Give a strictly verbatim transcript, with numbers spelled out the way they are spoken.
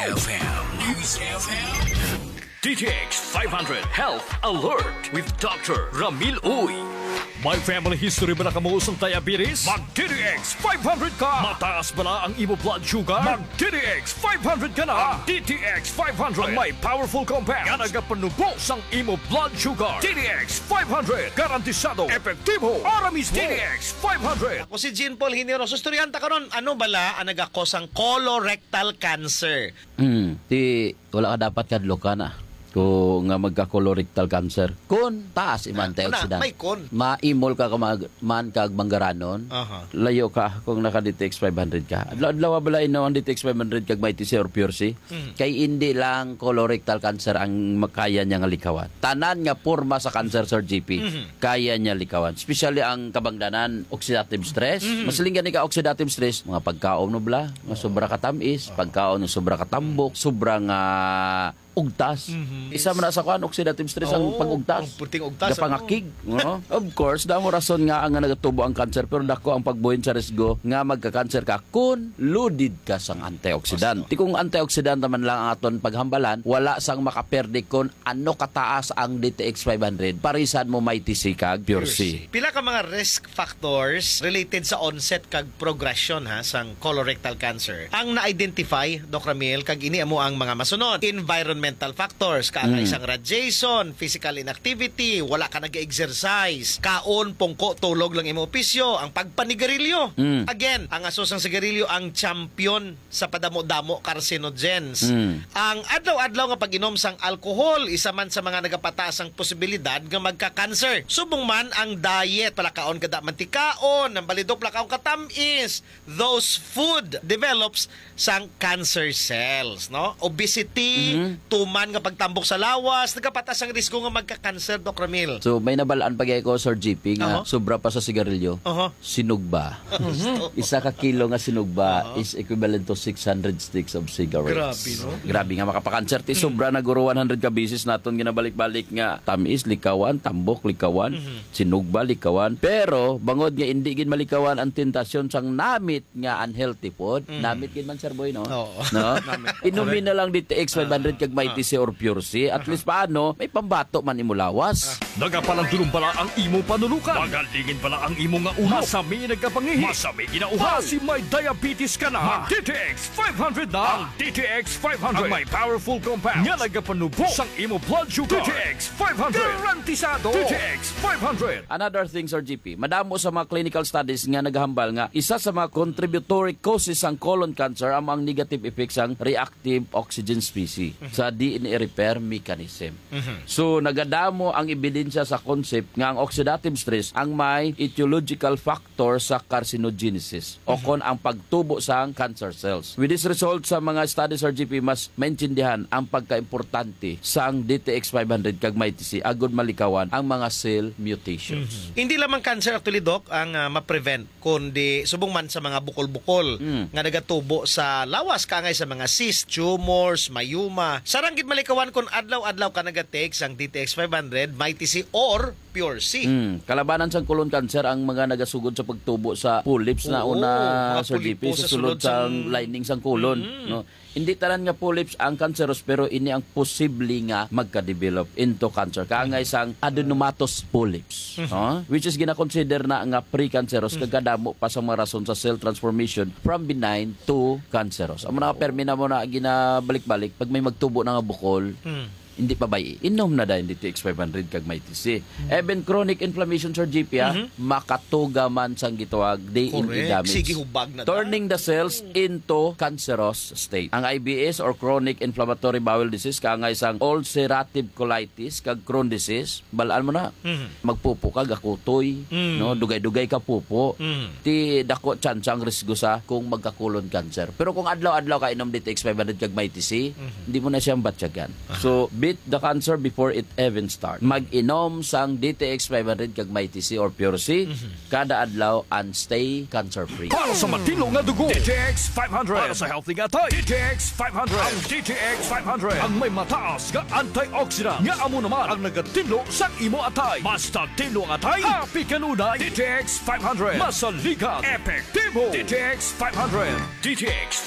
F M. News F M. D T X five hundred Health Alert with Doctor Ramil Uy. May family history ba na kamo sang diabetes? Mag D T X five hundred ka! Mataas bala ang imo blood sugar? Mag D T X five hundred ka na! Ang D T X five hundred ang may powerful compound nga nagapanubo sang imo blood sugar. D T X five hundred, garantisado, epektibo, ara mismo. D T X five hundred. Ako si Jean Paul Hineroso. Istoryahan ta karon, ano bala ang nagakos sang colorectal cancer? Hmm, ti wala ka dapat kadlukan, ah, ko nga magka-colorectal cancer. Kun taas im Ah, antioxidant. Una, may kun. Maimol ka ka mag-, man kag manggaranon. Aha. Layo ka kung naka D T X five hundred ka. Adlaw-adlaw bala inom ang D T X five hundred kag Mighty C or Pure C. Mhm. Kay indi lang colorectal cancer ang makaya niya nga likawan. Tanan nga porma sa cancer, Sir G P, Mhm. kaya niya likawan. Especially ang kabangdanan, oxidative stress. Mhm. Masiling gani ka oxidative stress, mga pagkaon mo bala, nga sobra ka tamis, pagkaon nga sobra ka tambok, sobra nga ugtas. Mhm. Isa man na sa kuan, oxidative stress ang Oo, pag-ugtas. Ang puting ugtas, Gapangakig, no? Of course, damo rason nga ang nagatubo ang cancer, pero dako ang pagbuhin sa risgo nga magka-cancer ka kun loaded ka sang antioxidant. Basta. Ti kung antioxidant naman lang ang aton paghambalan, wala sang makaperde kun ano kataas ang D T X five hundred, parisan mo Mighty C kag Pure C. Pila ka mga risk factors related sa onset kag progression, ha, sang colorectal cancer ang na-identify, Doc Ramil, kag ini amo ang mga masunod: environmental factors, kaangay Mm. sang radiation, physical inactivity, wala ka nag-exercise, kaon, pungko, tulog lang imo opisyo, ang pagpanigarilyo. Mm. Again, ang aso sang sigarilyo ang champion sa padamo-damo carcinogens. Mm. Ang adlaw-adlaw nga pag-inom sang alcohol, isa man sa mga nagapataas ang posibilidad nga magka-cancer. Subong man ang diet, palakaon kada mantikaon, ang balidok palakaon katamis, those food develops sang cancer cells, no? Obesity, Mhm. tuman nga pagtambok sa lawas, nagapataas ang risgo nga magka-cancer, Doc Ramil. So, may nabalaan pa gyud ko, Sir G P, nga Aha. sobra pa sa sigarilyo. Aha. Sinugba. Gusto. Isa ka kilo nga sinugba Oo. is equivalent to six hundred sticks of cigarettes. Grabe, no? Grabe nga makapakanser. Ti Mm. sobra na guro one hundred ka beses naton ginabalik-balik nga tamis, likawan, tambok, likawan, Mhm. sinugba, likawan. Pero bangod nga indi gid malikawan ang tentasyon sang namit nga unhealthy food, Mm. namit gid man, Sir Boy, no? Oo. No? Namit. Inumin Correct. na lang D T X five hundred Ah, kag Mighty ah. C or Pure C. At Aha. least paano, may pambato man imo lawas. Ah. Nagapalandulong bala ang imo panulukan? Magalingin bala ang imo nga ulo? Masami nagkapangihi? Masami ginauhaw? Basi may diabetes ka na? Mag D T X five hundred na! Ang D T X five hundred ang may powerful compound nga nagapanubo sang imo blood sugar. D T X five hundred. Garantisado. D T X five hundred. Another thing, Sir G P, madamo sa mga clinical studies nga nagahambal nga isa sa mga contributory causes sang colon cancer amo ang negative effects sang reactive oxygen species Mhm. sa D N A repair mechanism. Mhm. So, nagadamo ang ebidensya sa concept nga ang oxidative stress ang may etiological factor sa carcinogenesis o Mhm. kon ang pagtubo sang cancer cells. With this result sa mga studies, Sir G P, mas maintindihan ang pagkaimportante sang D T X five hundred kag Mighty C agud malikawan ang mga cell mutations. Mhm. Hindi lamang cancer actually, Doc, ang, ah, ma-prevent, kundi subong man sa mga bukol-bukol Mm. nga nagatubo sa lawas, kaangay sa mga cyst, tumors, myoma. Sarang gid malikawan kung adlaw-adlaw ka nagatake sang D T X five hundred, Mighty C or Pure C. Mm. Kalabanan sang colon cancer ang mga nagasugod sa pagtubo sa polyps na Oo, una, mga Sir G P, polipo sa sa sulod sulod sang sang lining sang colon, Mm. no? Hindi tanan nga polyps ang cancerous, pero ini ang posible nga magka-develop into cancer. Kaangay sang adenomatous polyps, Mhm. no? Which is gina-consider na nga pre-cancerous, Mhm. kag kadamo pa sa mga rason sa cell transformation from benign to cancerous. Amo na, permi na mo na ginabalik-balik, pag may magtubo na nga bukol, Hmm. hindi pa bay-i. Inom na dayon D T X five hundred kag Mighty C. Hmm. Even chronic inflammation, Sir G P, ah, Mhm. makatuga man sang gitawag D N A Correct. damage. Sige, hubag na ta. Turning the cells Hmm. into cancerous state. Ang I B S or chronic inflammatory bowel disease, kaangay sang ulcerative colitis kag Crohn disease, balaan mo na. Mhm. Magpupo ka, gakutoy, Mm. no? Dugay-dugay ka pupo. Mm. Ti dako tsansa ang risgo sa kung magka-colon cancer. Pero kung adlaw-adlaw ka inom D T X five hundred kag Mighty C, Mhm. hindi mo na siya batyagan. Aha. So, beat the cancer before it even start. Mag-inom sang D T X five hundred kag Mighty C or Pure C, Mhm. kada adlaw and stay cancer-free. Para sa matinlo nga dugo, D T X five hundred. Para sa healthy nga atay, D T X five hundred. Ang D T X five hundred ang may mataas nga antioxidant, nga amo naman ang nagatinlo sang imo atay. Basta tinlo ang atay, happy kanunay. D T X five hundred. Masaligan. Epektibo. D T X five hundred. D T X